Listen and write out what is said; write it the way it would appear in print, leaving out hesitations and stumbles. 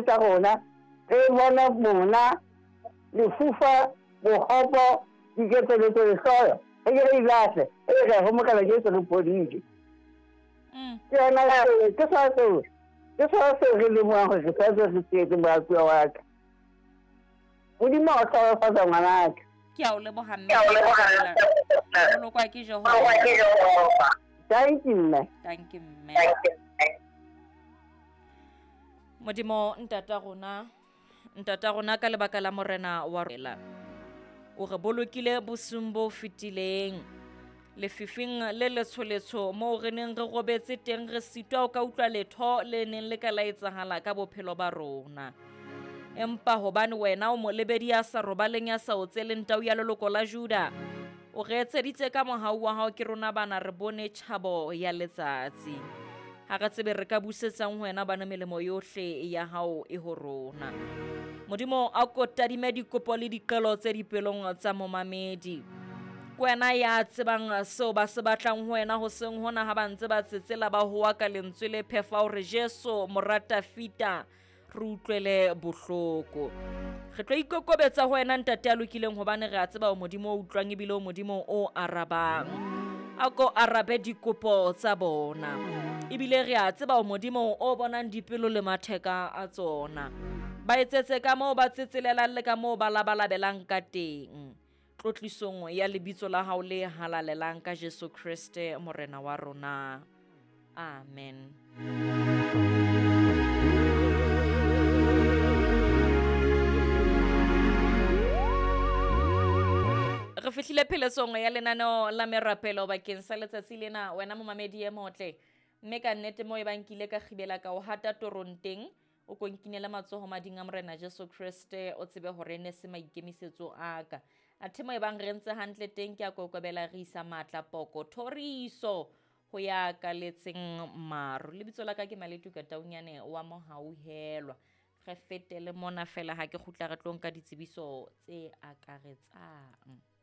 Tsa rona re bona mona, lefufa, bokgopo, diketseletso, lehloyo, re ke re ilahle, e re ho Morena Jesu re phodile. Ke yona ke sona seo, ke sona seo re lemohang hore re tshwanetse re tsietse moratuwa wa ka. Modimo a o hlohonolofatsa ngwanaka. Ke a o leboha mme. Bolokwa ke Jehova. Thank you mme. Thank you mme. Modimo ntata rona, ntata rona ka lebaka la morena wa rona. O re bolokile bosung bo fetileng. Lefifing le letsholetsho moo re neng re robetse teng re sitwa o ka utlwa letho le neng le ka la etsahala ka bophelo ba rona. Empa hobane wena o molebedi ya sa robaleng ya sa otseleng tau ya leloko la Juda, o re etseditse ka mohau wa hao ke rona bana re bone tjhabo ya letsatsi. Ha re tsebe re ka busetsang ho wena bana melemo yohle ya hao e ho rona. Modimo a ko tadime dikopo le diqelo tse dipelong tsa momamedi. Ke wena ya tsebang seo ba se batlang ho wena hoseng hona ha ba ntse ba tsetsela ba hoa ka lentswe le phefa hore Jesu mora Tafita re utlwele bohloko. Re tlo ikokobetsa ho wena ntate ya lokileng hobane re a tseba o Modimo o utlwang ebile o Modimo o arabang. A ko arabe dikopo tsa bona. Ebile re a tseba o Modimo o bonang dipelo le matheka a tsona. Ba etsetse ka moo ba tsetselelang le ka moo ba labalabelang ka teng. Tlotlisong ya lebitso la hao le halalelang ka Jesu Kriste Morena wa rona. Amen. Re fihlile pheletsong ya lenaneo la merapelo bakeng sa letsatsi lena wena momamedi e motle. Mme ka nnete moo e bang ke ile ka kgibela ka o hata torong teng, o ko nkinele matsoho mading a Morena Jesu Kriste o tsebe hore ne se maikemisetso a ka. Athe mo e bang re ntse hantle teng ke a kokobela re isa matla poko thoriso ho ya kaletseng maru. Lebitso la ka ke Maletuka Taunyane wa Mohauhelwa. Re fetele mona fela ha ke kgutla re tlo nka ditsebiso tse akaretsang.